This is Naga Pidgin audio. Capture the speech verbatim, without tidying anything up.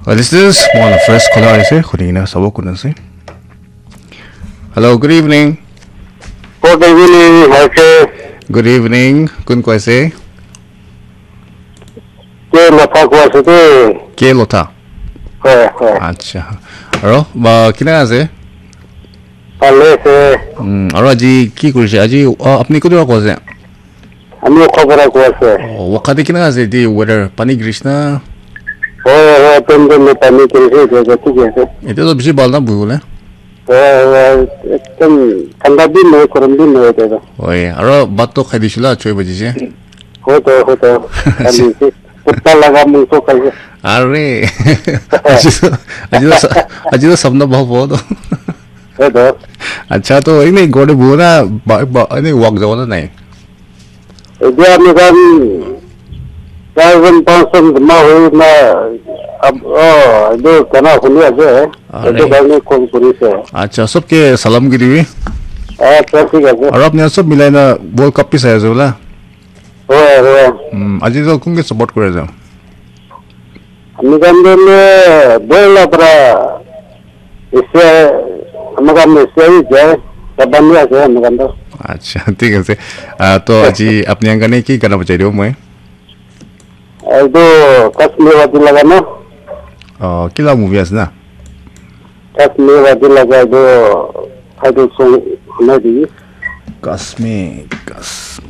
Well, this is one of first caller ase, khuli kena sabo kun ase. Hello, good evening. Good evening, Michael. Good evening. Kun koi ase? Ke Lotha koi ase de. Ke Lotha? Hoi, hoi. Acha. Aro, ba, kina ase? Bhale ase. Hmm, aro aji ki korise? Aji, ah, apni kotu koi ase? Ami Wokha para koi ase. Oh, Wokha te kina ase di weather? Pani girise na? Hoi, hoi, tem tem pani girise, etia to thik ase. Etia to bishi bhal na buhibole. Hoi, hoi, ekdom thanda bi nohoi, gorom bi nohoi etia to. Hoi, aro bhat to khai disila, choi baji je. Hoi to, hoi to. Pani se. Kutta laga mungso khai je. Are. Aji to, aji to sa-, aji to sapna bhal bo to. Hoi to. Acha, to ine ghor te buhibole na, ba, ba, ine walk jabo na nai? Etia ami khan charjon panchjon jama hoi na, ab-, oh, etu gana huni ase. Ah, etu karne call kuri ase. Acha, sobke salam kuri dibi. Acha, thik ase. Aru apni khan sob milai na World Cup bi sai ase bola? Hoi, hoi. Hmm, aji to kunke support kuri ase? Ami khan to le bola para Asia, ami khan Asia hi jai, Japan hi ase ami khan to. Acha, thik ase. Ah, to aji apni khan karne ki gana bajai dibo moi? Etu Kashmir Wadi laga na? Oh, kila movie ase na? Kashmir Wadi laga etu title song hunai dibi. Kashmir, Kashmir.